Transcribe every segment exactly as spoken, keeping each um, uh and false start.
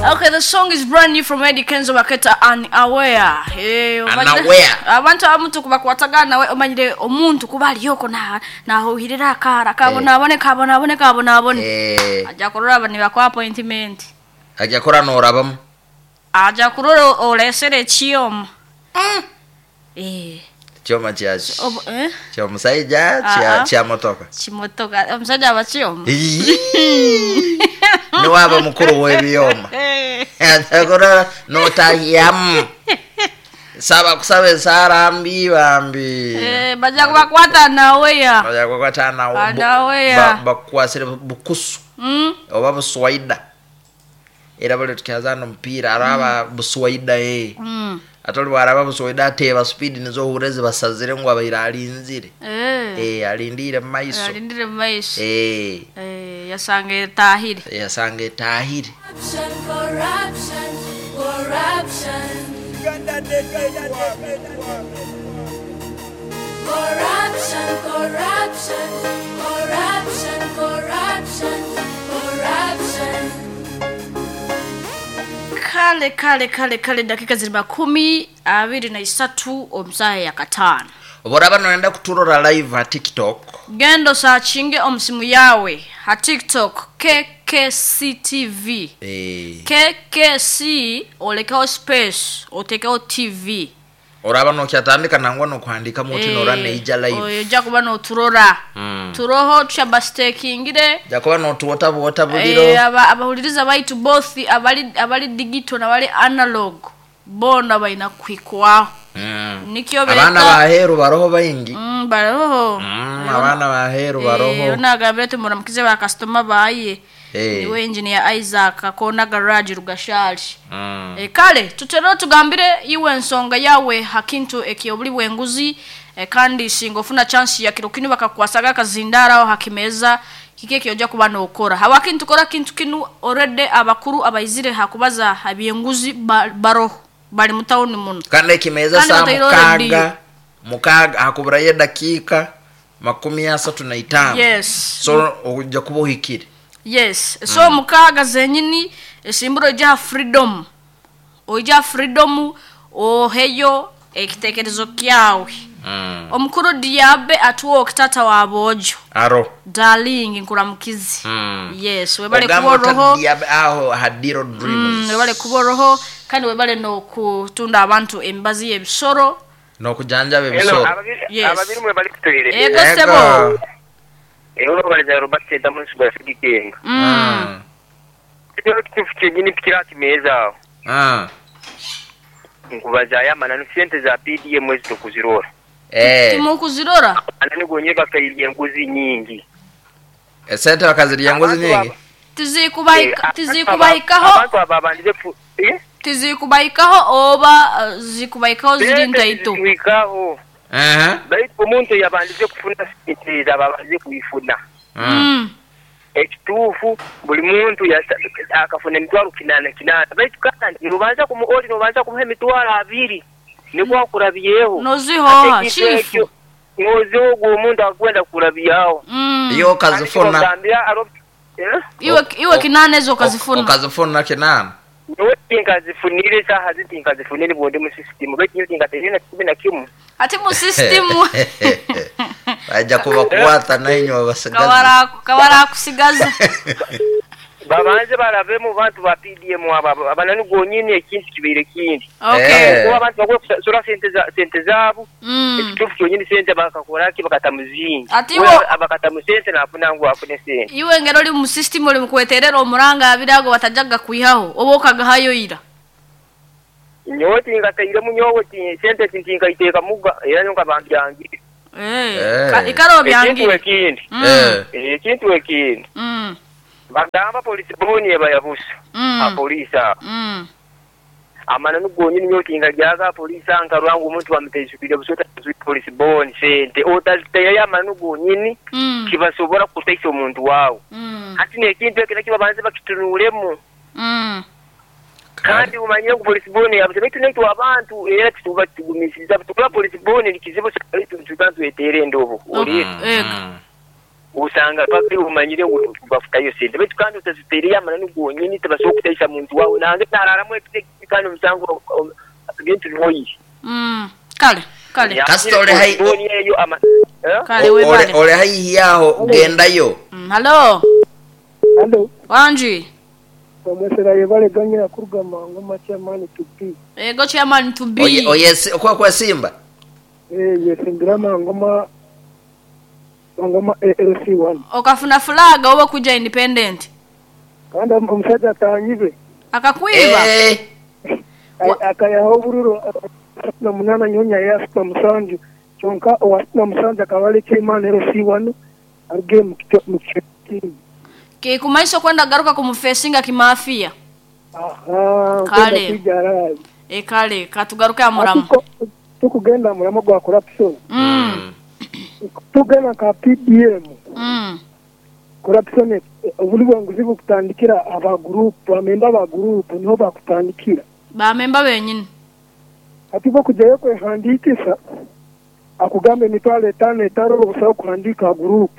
Okay, the song is brand new from Eddie Kenzo baketa Unaware. Eh, Unaware. Abantu abamu tukubakwatagana nawe omanyire omuntu kuba aliyoko na nahuhirira akara kabona abone kabona abone kabona abone. Eh, Ajja kurora bani bakwa appointment. ajja kora norabamu. Ajja kurora olesere chioma. Eh, Choma kya obo eh kya musajja kya Ah, ah. kya motoka. Chimotoka omusajja aba chioma. Iyii. Niwaba mukuru w'ebyoma. Eh. Ajja kurora notahiyamu. Saba kusaba esaara mbi bambi. Eh, bajja kubakwata nawe ya. Bajja kukwata nawo. Ah, nawe ya. Bakukwasire bukusu Mm. oba buswaida. Era bali tukyazana omupiira araba buswaida ye. Mm. Ate oli bwaraba buswaida ateeba speed nizo ohure zibasazire ngu abaire alinzire. Eh. Eh, alindire mu maiso. Alindire mu maiso. Eh, Eh, yasanga etahire. yasanga etahire. Corruption, corruption, corruption. Corruption, corruption, corruption, corruption, corruption. Kale kale kale kale dakika ziri makumi abiri na isatu omusaha ya kataano. Oboraba noyenda kuturora live ha TikTok. Gendo sachinge omusimu yawe ha TikTok K K C T V. Eh, K K C olekaho space otekeho T V. oraba nokyatandika nangwa nokuhandika muti nora neija live. Ojja kuba noturora. Mm. Turoho tushabastekingire. Ja kuba notuwota buwota buliro. Eh, aba abahuliriza baitu both abali abali digital nabali analog bona balina kwikwaho. Mm. Nikyo beta. Abaana baheru baroho baingi. Mm, baroho. Mm, abaana baheru baroho. Eh, onagambire tumuramkize ba customer baye. Eh. Niwe engineer Isaac akona garage Rugashali. Mm. E, kale tutero tugambire iwe ensonga yawe hakintu ekyobuli bwenguzi e, kandi singa ofuna chance ya kiro kinu bakakwasaga akazindara aho hakimeza kike kyoja kuba nokora hawakintu kora kintu kinu already abakuru abaizire hakubaza habyenguzi ba, baroho bali mutawuni muno Kandi ekimeza Kandi saa bataire mukaga already. mukaga hakuburayo dakika makumi asatu na itaano. Yes. So ojja kuba ohikire. Yes. So mm. mukaga zenyini esimburo ija freedom. Oija freedom oheyo ekitekerezo kyawe. Mm. Omukuru Diabe atuwa okitata wa bojo. Aro. Darling nkuramukizi. Mm. Yes, webale Ogamba kuboroho. ota Diabe aho hadiro dreams. Mm, webale kuboroho kandi webale no kutunda abantu embazi y'ebisoro. No kujanjaba Hello, ebisoro. ababiri Yes. ababiri mwe bali kutuire. Ego sebo. Eho baliza Robert Senta mu nsigo ya Sigikenga. Mm. Kino kitufu kyenyini pikira kimeza. Ah. Nkubaza aya mananu sente za P D M mwezi tukuzirora. Eh. Timukuzirora. Anani gonye bakayirya enguzi nyingi. Esente bakazirya enguzi nyingi. Tizikubaika tizikubaikaho Abantu ababandize eh? Tizikubaikaho oba uh, zikubaikaho ziri ntaito. Zikubaikaho. Eh. Baitu omuntu yabandize kufuna sente zababandize kuifuna. Mm. Ekituufu buli muntu akafuna emitwalo kinana kinana. Baitu kandi nubanza kumuoli nubanza kumuha emitwalo abiri. Niko akurabyeho. Nozihoha chifu. Noziho omuntu akwenda kurabyaho. Mm. Iyo kazifuna. Iwe iwe kinana ezo kazifuna. Okazifuna kinana. Niwe tinkazifunire saha zitinkazifunire bonde mu system. Baitu tinkaterina kumi na kimu. Ati mu system. Aja kuba kuwata nainyo abasigazi. Kawara kawara kusigaza. Babanze barabe mu bantu ba P D M aba abanani gonyini ekintu kibire kindi. Okay. Kuba abantu bagwe kusura sente za sente zabo. Mm. Ekitufu kyonyini sente bakakora ki bakatamuzingi. Ati wo abakatamu sente nafuna ngu afune sente. Iwe ngero oli mu system oli mukweterera omuranga abirago batajaga kuihaho oba okagahayo ira. Nyowe tingateire munyowe ti sente tinkaiteeka muga era nyonka bantu yangi. Eh. Ikaro byangi. Ekintu ekindi. Eh. Ekintu ekindi. Mm. Bagamba polisi boni ebayabusa. Mm. Apolisi. Mm. Amana nugonyini nyotinga jaga polisi ankarwangu omuntu bamutezukire busota polisi boni sente otaziteya amana gonyini mm. kibasobora kutaisa omuntu wawe. Mm. Hati nekintu ekyo kibabanze bakitunulemu. Mm. Kandi umanyire ku polisi boni yabuze bitu netu abantu era tuba tugumisiza tukula polisi boni likizibu tubantu etere ndobo. Oli. Mm. Usanga paka umanyire bafutayo sente baitu kandi utaziteereye amananu gonyini tibasobola kutaisa muntu wawe nange nararamu ekiti kandi omusango bintu bihoyi. Mm. Kale kale. Kasita ole hai- eyo ama eh? Kale webale. Ole ole haihi yaho gendayo. Mm, hello. Hello. Wanji. Omwesera yebale ganyira kuruga mangu chairman to be. Ego chairman to be. Oye oye si- kwa kwa Simba. Eh yesimbira mangoma mangoma A L C one. Okafuna flag oba kuja independent. Kandi omusajja atanyibe. Akakwiba. Eh. Akayaho obururo na munana nyonya ya sita musanju. Kyonka owa sita musanju akabale chairman A L C one aruge mu kiti. Ke kumaiso kwenda garuka kumufesinga kimafia. Aha, Kale. E kale katugaruka amuramu. Tukugenda muramo gwa corruption. Mm. Tugenda ka P D M. Mm. Corruption obuli bwanguzi bukutandikira aba group, amemba ba group niho bakutandikira. Ba memba benyini. Ati bo kujayo kwehandikisa akugambe emitwalo etano etano busaho kuhandika group.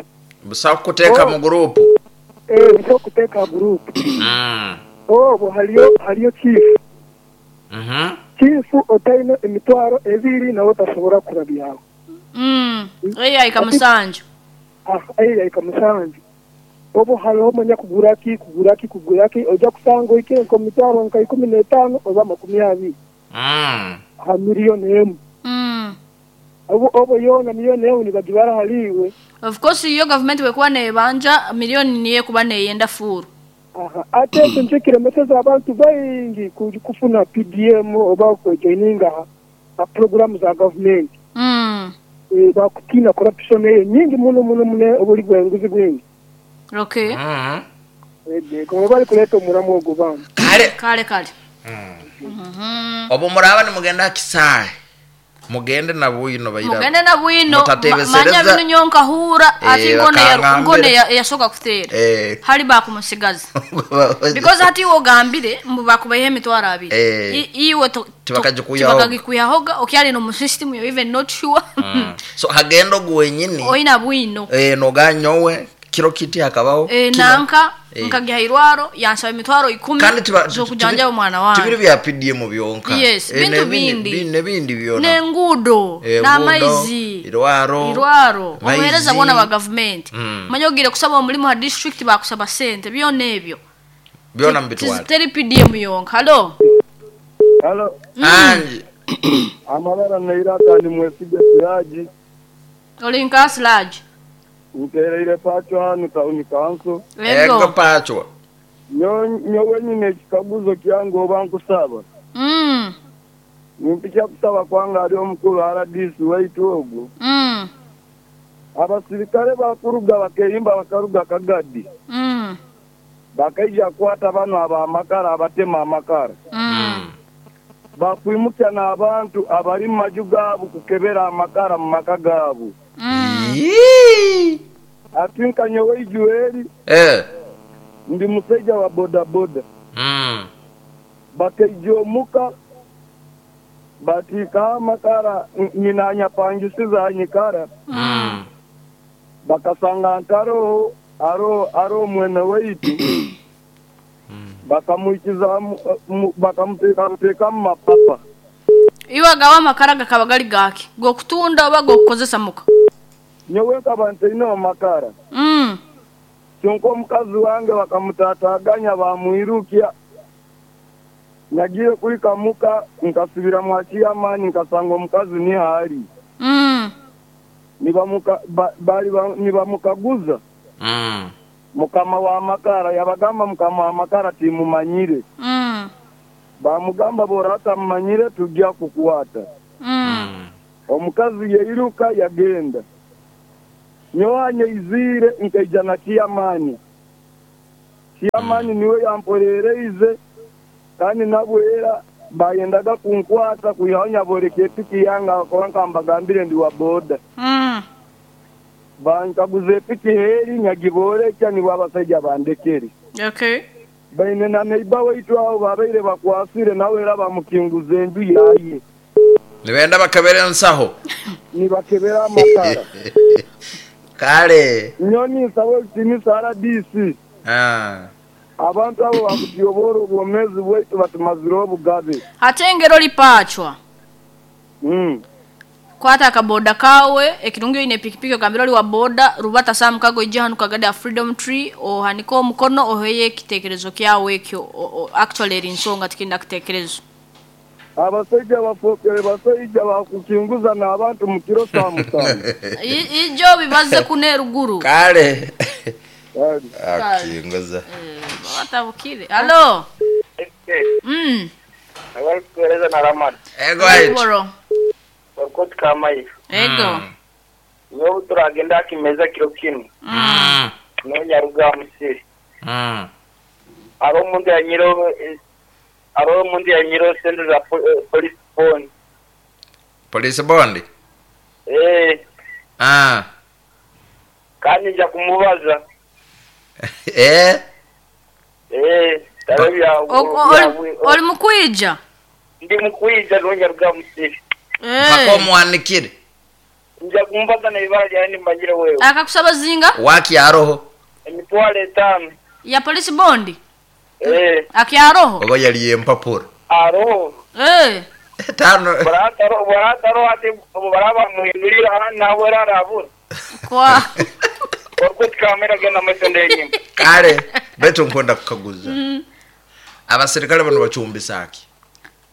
Busaho kuteka Oh. mu group. Eh busaho kuteka group. Mm. Oh bo haliyo haliyo chief. Mhm. Chief otaino emitwalo ebiri nawe tasobora kurabyaho. Mm. Eya ikamusanju. Ah eya ikamusanju. Obo haliho manya kuguraki kuguraki kuguraki oja kusanga ikire nko mitwalo nka ikumi n'etaano oba makumi abiri. Mm. Ha miliyoni emu. Mm. Obo obo yona miliyoni emu nibagibara haliwe. Of course iyo government wekuwa nebanja milioni niye kuba neyenda furu. Aha, ate ekyo nikyo kiremeseza abantu baingi kufuna P D M oba kujoininga ha programu za government. Mm. E, bakutina corruption eyo nyingi muno muno muno obuli bwenguzi bwingi. Okay. Mm. Ede, kuma bali kuleta omuramu ogwo bantu. Kale kale kale. Mm. Mm-hmm. Obo muraba ni mugenda kisae. Mugende na bwino bayira. Mugende na bwino. Manya bino nyonka hura ati ngone ya ngone yasoka kutera. Eh. Hali bakumusigaza. Because hati wogambire mbu bakubaye emitwaro abiri. Eh. Iwe tibakagikuyaho. Tibakagikuyahoga okyali no mu system you even not sure. Mm. So hagendo gwenyini. Oina bwino. Eh noganyowe kiro kiti hakabaho. Eh nanka Eh. nkagihairwaro yansaba emitwaro ikumi kandi tiba zokujanja omwana wange. Tibiri bya P D M byonka. Yes, Eh, bintu n'ebindi- bindi. N'ebindi byona. Nengudo, Eh, n'amaizi, irwaro, irwaro, maizi. omuhereza bona ba government. Mm. Manya ogire kusaba omulimu ha district bakusaba sente byona ebyo. Byona mbitwala. Teri P D M yonka. Hello. Hello. Mm. Anji. Amabara neiraka ni mwesige Siraji. Oli nka Siraji. Ntereire pacho hanu town council. Ego Ego. pacho. Nyo nyowe nyine ekikaguzo kyange oba nkusaba. Mm. Nimpicha kusaba kwanga ali omukulu R D C waitu ogwo. Mm. Abasirikale bakuruga bakeyimba bakaruga Kagadi. Mm. Bakaija kwata bano abamakara abatema amakara. Mm. Bakwimukya n'abantu abali mu maju gaabo kukebera amakara mu maka gaabo. Mm. Yee. Ati nkanyowe Ijueli. Eh. Ndi musajja wa boda boda. Mm. Bakaija omuka batiika amakara nyina anyapangisiza anyikara. Mm. Bakasanga ntaroho aro aro mwene waitu. Bakamuikiza bakamuteeka mu mapapa. Iwe agawa amakara gakaba gali gaki gokutunda oba gokukozesa muka? Nyowe nkaba ntaine amakara. Mm. Kyonka omukazi wange bakamutataganya bamwirukya. Nagiye kuri kamuka nkasubira mwakiyamani nkasanga omukazi ni hali. Mm. Nibamuka ba, bali ba, nibamukaguza. Mm. Mukama wa makara yabagamba mukama wa makara timumanyire. Mm. Bamugamba borata mumanyire tujja kukuwata. Mm. Omukazi yeiruka yagenda. Nyoanye izire nkaija na kiyamani. Kiyamani niwe yamporereize kandi nabwera bayendaga kunkwata kuyaonya boreke epiki yanga konka mbagambire ndi wa boda. Mm. Bankaguze epiki heri nyagiborekya ni wabasajja bandekeri. Okay. Baine na neighbor waitu aho babaire bakwasire nawe era bamukinguza enju yaye. Nibenda bakabere nsaho. Nibakebera amakara. Kale. Nyoni nsaba ekitinisa R D C. Ah. Abantu abo bakutuyobora obwomezi bwaitu batumazire obugabe. Ate engero lipachwa. Mm. Kwata akaboda kawe ekirungi ine pikipiki ogambira oli wa boda rubata saa mukago ijja hanu kagadi ya Freedom Tree ohanike omukono oheye ekitekerezo kyawe ekyo actually eri nsonga tikinda kitekerezo. Abasajja bafokere basajja bakukinguza n'abantu mu kiro saa mutano. Ijo bibaze kune ruguru. Kale. Akinguza. Batabukire. Hello. Mm. Abali kueleza na Ramani. Ego ayo. Wakoti kama hiyo. Ego. Nyo turagenda kimeza kiro kinu. Mm. No nyaruga musiri. Mm. Aro mundu ya nyiro aro mundu ya nyiro sendo za police bond. Police bond? Eh. Ah. Kandi nja kumubaza. Eh? Eh, tarabya. Oli mukwija? Ndi mukwija no nyaruga musiri. Mpaka omwanikire. Nja kumbaza na ibara lyani mbajire wewe. Akakusaba zinga? Waki aroho. Emitwalo etano. Ya police bond? Eh. Akiaroho? Oba yali empapura. Aroho. Eh. Tano. Barataro barataro ati baraba muhindurira nawe rarabura. Kwa. Orkut kamera genda masende yenyine. Kale beto nkwenda kukaguza. Mm. Abasirikale bano bacumbisaki.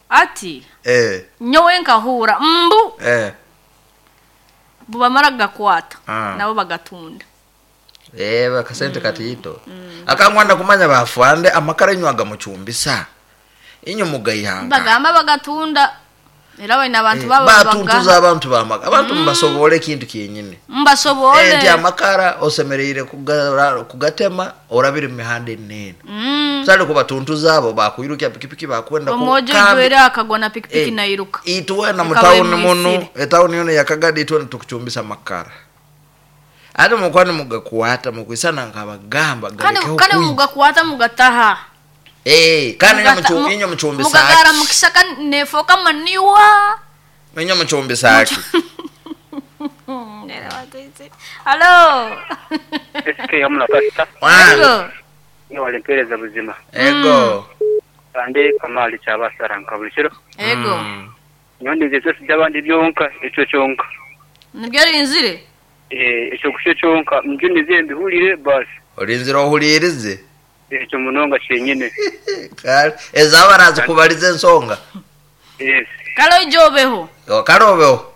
Ati eh nyowe nkahura mbu eh bubamara gakwata ah. Nabo bagatunda eh bakasente mm. Katito mm. Akangwanda kumanya bafande amakara nywaga mucumbisa inyo mugayihanga bagamba bagatunda era wena abantu eh, baba batuntuza abantu bamaga abantu mm. Mbasobole kintu kyenyine mbasobole eh ndi amakara osemereire kugatema orabira mihanda enene mm. Sali kubatuntuza abo bakuyiruka pikipiki bakwenda ku omojo gwera akagwa na pikipiki eh, nairuka itwe na mutauni muno etauni yono yakagadi itwe tukuchumbisa makara ate mukwani mugakuwata mukwisana nkabagamba kandi kandi mugakuwata mugataha. Eh, kana inyo mchu inyo mchumbisa. Mugagara mukisaka nefoka maniwa. Inyo mchumbisa aki. Hello. S K hamna pasta. Ego. Ni walimpereza buzima. Ego. Ande kamali cyabasara nkabulishiro. Ego. Nyondi nze byabandi byonka eco cyonka. Nibyo rinzire? Eh, eco kusho cyonka mjuni zembi hulire basi. Orinzira ohulirize. Ekyo munonga kyenyine. Kale ezabarazi kubaliza ensonga. Yes. Kale ijobeho. Kale obeho.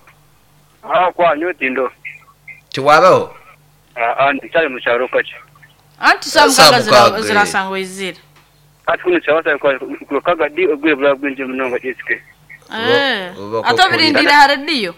Ah kwa nyotindo. Tiwabeho. Ah ah ndicyari mu cyaro kace. Anti samukaga zirasangwa izira. Ati kuno cyabasa kwa kagadi ogwe bwa bwinje munonga S K. Eh. Atobirindira ha radio.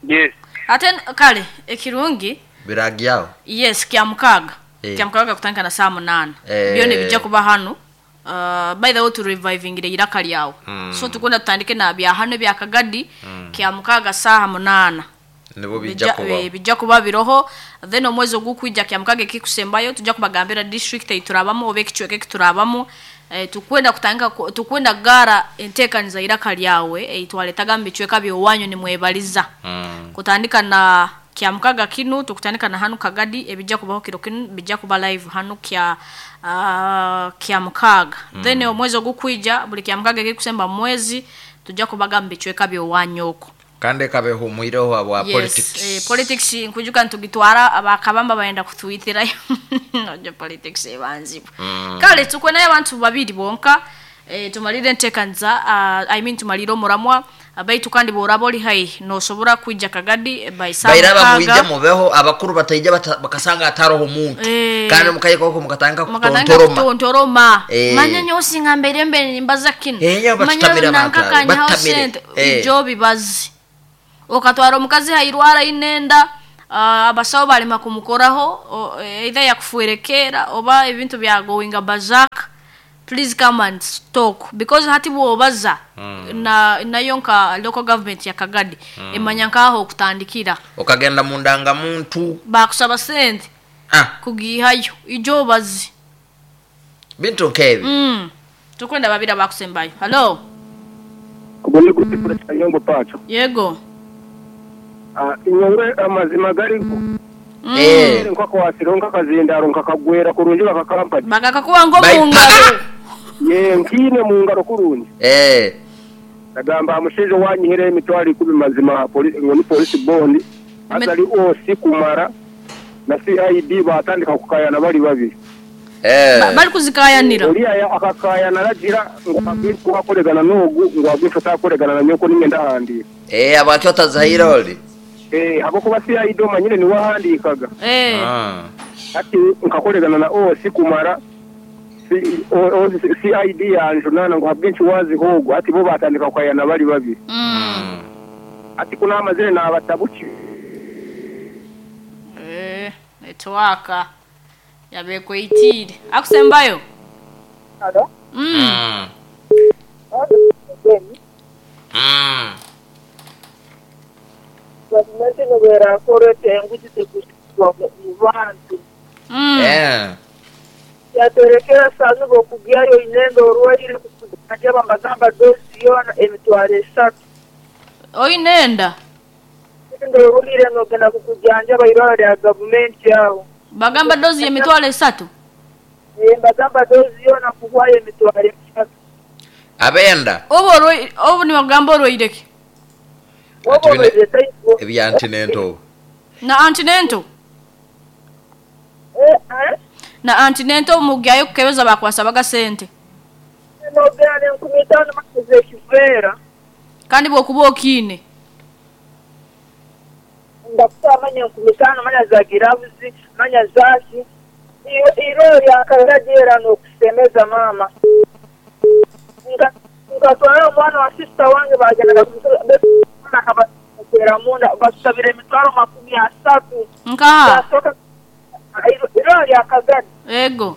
Yes. Ate kale ekirungi biragiyaho. Yes kya mukaga. Eh. Kya mukaga kutandika na saa munana. Eh. Byone bijja kuba hano. Uh, by the way to reviving ile iraka lyawo. Mm. So tukunda tutandike na bya hano bya kagadi mm. Kya mukaga saha munana. Nibo bijja kuba. E, bijja kuba biroho then omwezi ogukwijja kya mukaga kikusembayo tujja kubagambira district eiturabamo obe kichweke kiturabamo. E, tukwenda kutandika tukwenda gara entekaniza iraka lyawe eitwaletaga mbichweka byowanyu ni mwebaliza. Mm. Kutandika na kya mukaga kinu tukutandika na hanu kagadi ebijja kubaho kiro kinu bijja kuba live hanu kya uh, kya mukaga. Mm. Then omwezi ogukwija buli kya mukaga kikusemba mwezi tujja kubaga mbichweka byowanyoko. Kande kabe humwireho abo yes, politics. Eh, politics nkujuka ntugitwara abakabamba bayenda kutwitirayo. Nojo politics ebanzibu. Mm. Kale tukwe naye abantu babiri bonka eh, tumalire ntekanza uh, I mean tumalire omuramwa abaitu kandi borabo li hai nosobora kwijja kagadi by saa bairaba muije mubeho abakuru bataija bakasanga ataroho muntu e, kandi mukayiko mukatanga kutontoroma kutontoroma e. Manya nyosi ngambere mbere mbaza kino e, manya nankakanya sente e. Ijo bibazi okatwara omukazi hairwara inenda uh, abasawo balema kumukoraho either yakufuerekera oba ebintu bya going bazak. Please come and talk because hati bwobaza mm. na nayo nka local government ya Kagadi mm. Emanya nkaho okutandikira okagenda mundanga muntu bakusaba sente ah. Kugihayo ijo bazi bintu nkebi mm. Tukwenda babira bakusembayo. Hello. Kubone kutifura cyanyongo pacho. Yego. Ah inyongwe amazima gariho. Eh. Nkakwasiro nkakazindaro nkakagwera kurungi bakakampani. Bakakakuwa ngo mu ngaro. Ye nkine mu ngaro kurungi. Eh. Nagamba amushejo wanyihera emitwalo ikumi mazima polisi ngo ni polisi bond atali osi kumara na C I D batandika kukayana bali babiri. Eh. Bali kuzikayanira. Oliya akakayana ragira ngo agwifu akoregana n'ogu ngo agwifu atakoregana na nyoko ningenda handi. Eh abakyo tazahira oli. Eh abo kuba C I D omanyire ni wahandikaga. Eh. Ah. Ati nkakoregana na osi kumara C I D yanjunana ngo habwinshi wazi hogo ati bo batandika kukayana bali babiri. Mm. Ati kuna amazire na abatabuki. Eh network yabekwitire. Akusembayo. Alo. Mm. Mm. Gavumenti nobera korete enguzi tekuswa mu bantu. Mm. Eh. Yaterekera sanu bokugyayo inendo orwaire kujya bambagamba dosi yona emitwaro esatu. Oinenda. Ndo orwaire nogenda kukujanja bairwara ya gavumenti yao. Bagamba dozi emitwaro esatu. Eh bagamba dozi yona kuhwaye emitwaro esatu. Abenda. Obo obo ni bagamba orwaireke. Obo ebya antinento. Na antinento. Eh eh na antinento mugyayo kukebeza bakwasabaga sente. Nogana enkumi ttaano maze kivera. Kandi bwokuba okine. Ndakutamanya enkumi ttaano manya za girabuzi manya zaki. Iro lyakaragera n'okusemeza mama. Nga ngatwara omwana wa sister wange bagenda akabakwera munda basabira emitwaro makumi asatu. Nka iro lyakagadi. Ego.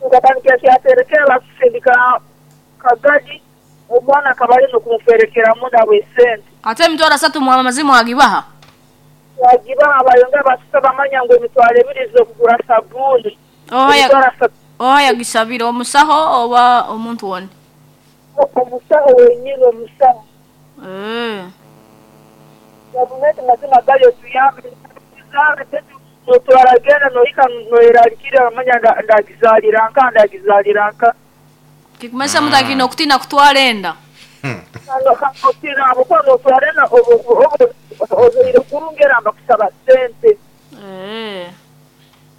Ngatandikira kyaterekera basindika kagadi omwana akabali n'okumuferekera munda bw'esente. Ate emitwaro asatu mwama mazimu agibaha. Wagibaha bayonga basaba manya ngo emitwaro ebiri z'okugura sabuni. Oya oya gisabira omusaho oba omuntu wone. Omusaho wenyine omusaho. Eh. Gavumenti mazima gayo tuyambe tuzare tetu notwaragenda noika noerarikira manya ndagizalira nka ndagizalira nka. Kikumesa mutakino kutina kutwalenda. Kano kakotina abuko notwarena obo obo ozoire kurungera bakusaba sente. Eh.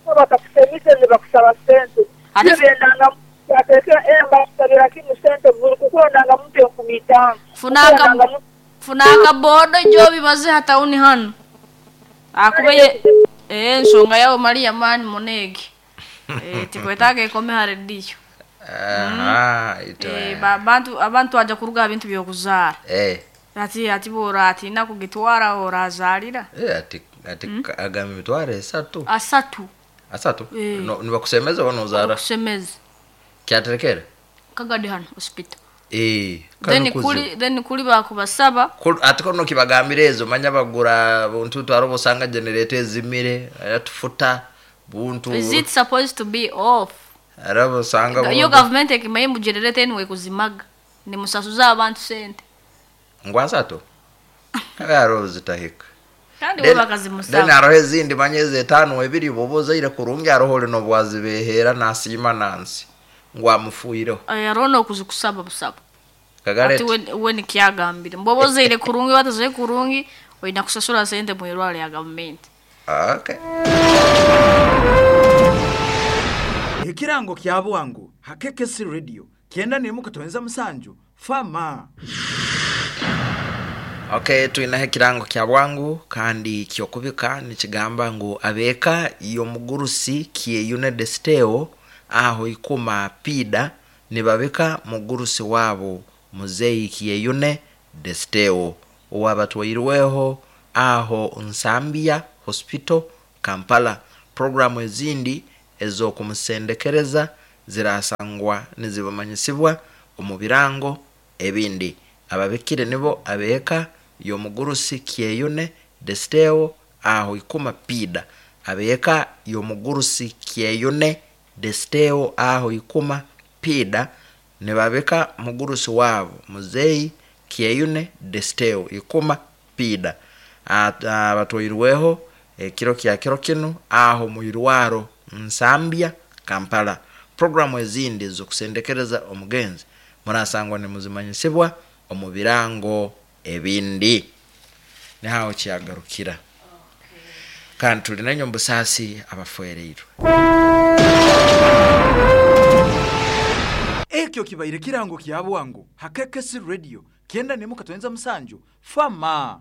Bakakusemise ne bakusaba sente. Ate bendanga ateka emba kusabira kimu sente buri kukonanga muntu enkumi ttaano. Funaka funaka bodo jobi baze hatauni hano. Akubeye eh nsonga yao Maria mani monegi. Eh tikwetake ikome haredio. Aha ito. Eh abantu abantu aja kuruga ebintu byokuzara. Eh. Ati ati bora ati nakugitwara orazalira. Eh ati ati mm. Agamba emitwaro esatu. Asatu. Asatu? Eh. No nibakusemeza banozara. Kusemeza. Kyaterekera? Kagadi hano hospital. Eh. Then kuli then kuli bakubasaba. Ati kono kibagambira ezo manya bagura buntu twaro bosanga generator ezimire atufuta buntu. Is it supposed to be off? Arabo sanga yo government ekimaye mu generator enwe kuzimaga. Ni musasuza abantu sente. Ngwasato. Kagaro zitahika. Kandi we bakazimusaba. Then arohe zindi manyeze tano ebiri boboza ire kurungi arohole no bwazibehera nasima nansi. Ngwamufuiro. Aya rono kuzikusaba busaba. Kagare. Ati we we nikyagambire. Mboboza ire kurungi batazoye kurungi oyina kusasura sente mu irwale ya government. Okay. Ekirango kya bwangu hakekesi radio kienda ni mukatonza musanju fama. Okay, tuina ekirango kya bwangu kandi kyokubika nikigamba ngu abeka iyo mugurusi kieyune desteo aho ikuma pida nibabika mugurusi wabo muzeyi kieyune desteo owabatwairweho aho Nsambia Hospital Kampala. Programu ezindi ezokumusendekereza zirasangwa nizibamanyisibwa omu birango ebindi. Ababikire nibo abeka yomugurusi kieyune desteo aho ikuma pida. Abeka yomugurusi kieyune desteo aho ikuma pida nibabika mugurusi wabo muzeyi kieyune desteo ikuma pida. Abatwairweho Ekiro kya kiro kinu aho mwirwaro Nsambya, Kampala. Programu ezindi zokusendekereza omugenzi murasangwa nimuzimanyisibwa omu birango ebindi. Nihaho kyagarukira, kandi tuli nenyo mbusaasi abafereirwe. Ekyo kibaire kirango kya bwangu hakekesi radio kenda nemu katwenza musanju fama.